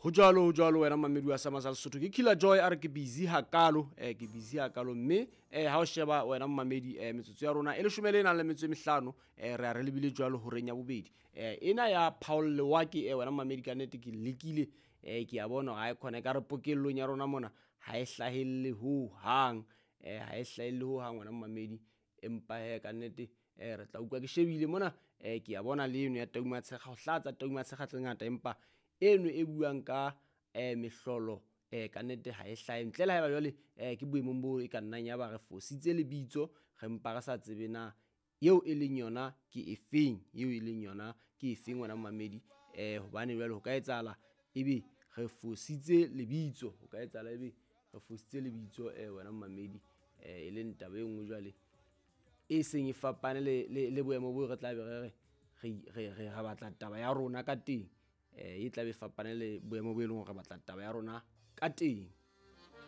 Ho jwalo, ho jwalo wena mamedi wa Sama sa Lesotho. Ke Killer Joy a re ke busy hakalo, ke busy hakalo mme ha o sheba wena mamedi, metsotso ya rona e leshome le nang le metso e mehlano, re a re lebile jwalo horeng ya bobedi. Ena ya Paul Lewake, wena mamedi, ka nnete ke lekile, ke a bona hore ha e khona e ka re pokellong ya rona mona ha e hlahelle ho hang, ha e hlahelle ho hang wena mamedi, empa he ka nnete re tla utlwa ke shebile mona, ke a bona le eno ya Tau Matshekga, ho hlatsa Tau Matshekga tse ngata, empa eno e buang ka mehlolo, ka nnete ha e hlahe ntle le haeba jwale ke boemong bo e ka nnang ya ba re fositse lebitso, re mpa re sa tsebe na eo e leng yona ke efeng, eo e leng yona ke efeng wena mamedi, hobane jwale ho ka etsahala ebe re fositse lebitso, ho ka etsahala ebe re fositse lebitso, wena mamedi, e leng taba e nngwe jwale e seng e fapane le boemo bo re tla be re re re re batla taba ya rona ka teng, e tla be fapane le boemo bo e leng hore re batla taba ya rona ka teng.